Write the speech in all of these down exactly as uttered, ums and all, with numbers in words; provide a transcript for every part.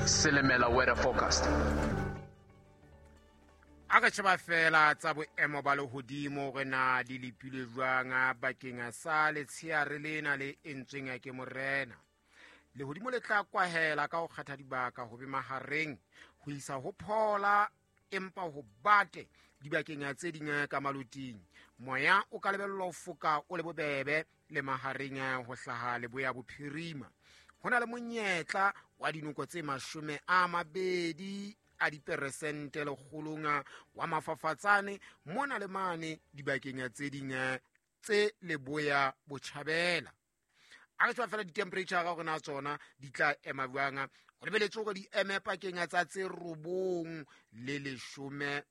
Silimela weather forecast. A re sheba fela tsa boemo ba lehodimo hore na di lepilwe jwang bakeng sa letsheare lena le entsweng ke morena. Lehodimo le tla kwahela ka ho kgetha dibaka ho be mahareng ho isa ho phola empa ho bate dibakeng tse ding ka maloting. Moya o ka lebellwa ho foka o le bobebe le mahareng ho hlaha leboya bophirima. Ho na le monyetla wa dinoko tse mashome a mabedi a diperesente lekgolong wa mafafatsane mona le mane dibakeng tse ding tse leboya botjhabela. A re tswa fela di-temperature ka hore na tsona di tla ema jwang. Ho lebeletswe hore di eme pakeng tsa tse robong le leshome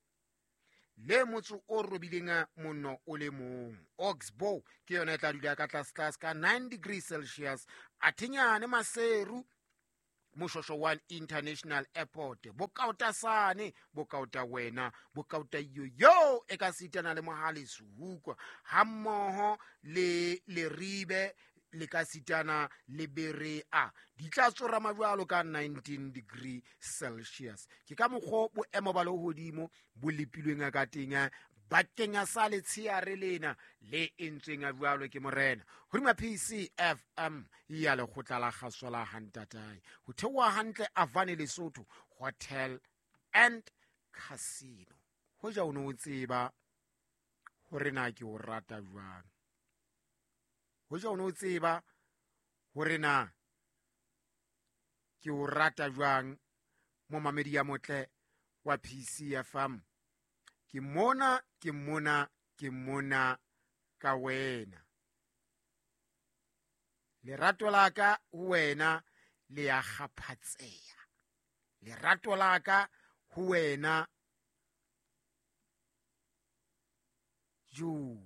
le motso o robileng monno o le mong. Oxbow ke yona e tla dula ka tlase tlase ka nine degrees Celsius. Athenyane Maseru Moshosho one International Airport, Bokautasane, Bokauta wena, Bokauta yoyo e ka sitana le Mohale Sehukwa hammoho le Leribe le ka sitana le Berea di tla tsorama jwalo ka nineteen degree Celsius. Ke ka mokgwa boemo ba lehodimo bo lepilweng ka teng bakeng sa letsheare lena le entsweng jwalo ke morena. Hodima P C F M ya lekgotla la kgaso la Hantatae ho theoha hantle Avane Lesotho Hotel and Casino. Hoja o no tseba hore na ke o rata jwang, hoja o no tseba hore na ke o rata jwang momamedi ya motle wa P C F M. Ke mona, ke mona, ke mona ka wena. Lerato la ka ho wena le ya kgaphatseha. Lerato la ka ho wena jo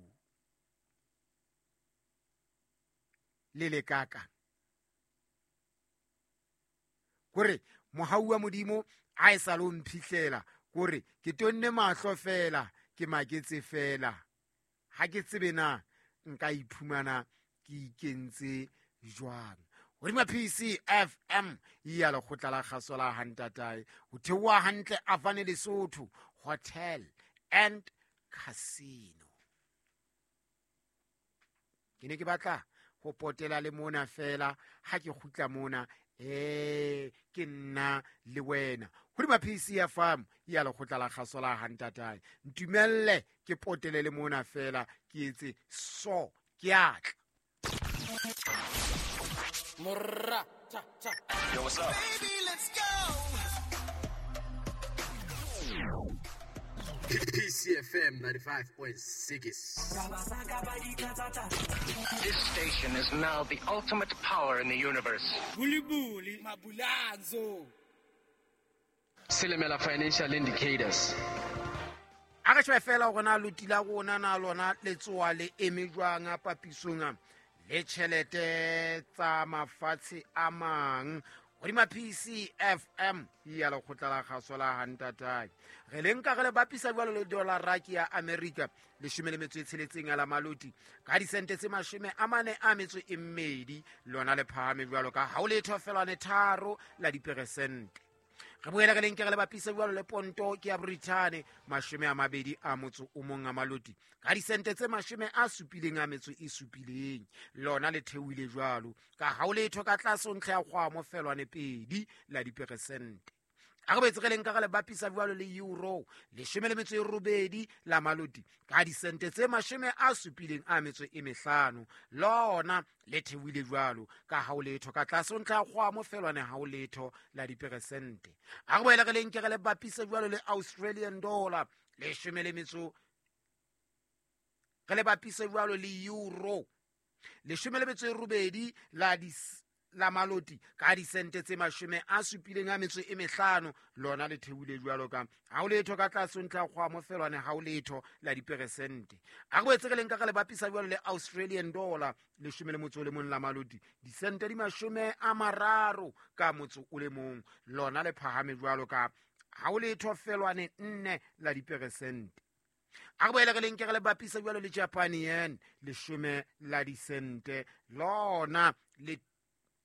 le le kaka. Kore mohau wa Modimo a e sa lo mphihlela. Kore ke tonne mahlo fela, ke maketse fela. Ha ke tsebe na nka iphumana ke ikentse jwang. Hodima P C F M ya lekgotla la kgaso la Hantatae ho theoha hantle Avane Lesotho Hotel and Casino. Ke ne ke batla ho potela le mona fela ha ke kgutla mona eh ke nna le wena. Hodima P C F M ya lekgotla la kgaso la Hantatae ntumelle ke potele le mona fela ke etse so ke atla. Morra cha cha. Yo, what's up? Baby, let's go. P C F M ninety-five point six. This station is now the ultimate power in the universe. Buli buli mabulanzo. Silimela financial indicators. A re shebe fela hore na loti la rona na lona le tsoa le eme jwang papisong le tjhelete tsa mafatshe a mang. Hodima P C F M ya lekgotla la kgaso la Hantatae re le nka re le bapisa jwalo le dollar ke ya America leshome le metso e tsheletseng ya la maloti ka disente tse mashome a mane a metso e mmedi lona le phahame jwalo ka ha o letho felwane tharo la diperesente. Re boela re le nke re le bapisa jwalo le ponto ke ya Britain mashome a mabedi a motso o mong a maloti ka disente tse mashome a supileng a metso e supileng lona le theohile jwalo ka ha o letho ka tlase ntlha ya kgwamo felwane pedi la diperesente. A re boetse re le nka re le bapisa jwalo le euro leshome le metso e robedi la maloti ka disente tse mashome a supileng a metso e mehlano lona le theohile jwalo ka ha o letho ka tlase ntlha ya kgwamo felwane ha o letho la diperesente. A re boele re le nke re le bapisa jwalo le Australian dollar leshome le metso re le bapise jwalo le euro leshome le metso e robedi la dis la maloti ka disente tse mashome a supileng a metso e mehlano lona le theohile jwalo ka ha o letho ka tlase ntlha kgwamo felwane ha o letho la diperesente. A re boetse re le nka re le bapisa jwalo le Australian dollar leshome le motso o le mong la maloti disente di mashome a mararo ka motso o le mong lona le phahame jwalo ka ha o letho felwane nne la diperesente. A re boele re le nke re le bapisa jwalo le Japan yen leshome la disente lona le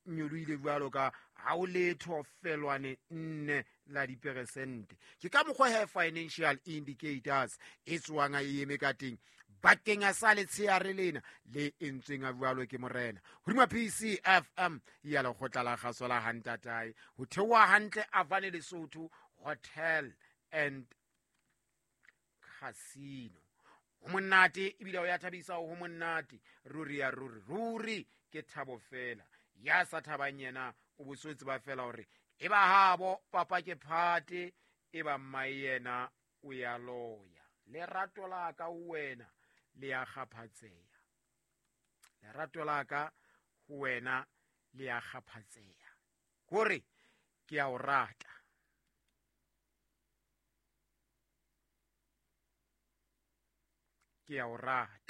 nyolohile jwalo ka Ha o letho felwane nne la diperesente. Ke ka mokgwa he financial indicators e tswang e eme ka teng bakeng sa letsheare lena le entsweng a jwalo ke morena. Hodima P C F M ya lekgotla la kgaso la Hantatae ho theoha hantle Avane Lesotho Hotel and Casino. Ho monate ebile o ya thabisa, ho monate ruri ya ruri ruri ke thabo fela. Ya sa thabang yena o bosotse ba fela hore e ba habo papa ke phate e ba mmae yena o ya loya. Lerato la ka ho wena le ya kgaphatseha. Lerato la ka ho wena le ya kgaphatseha. Hore ke a o rata. Ke a o rata.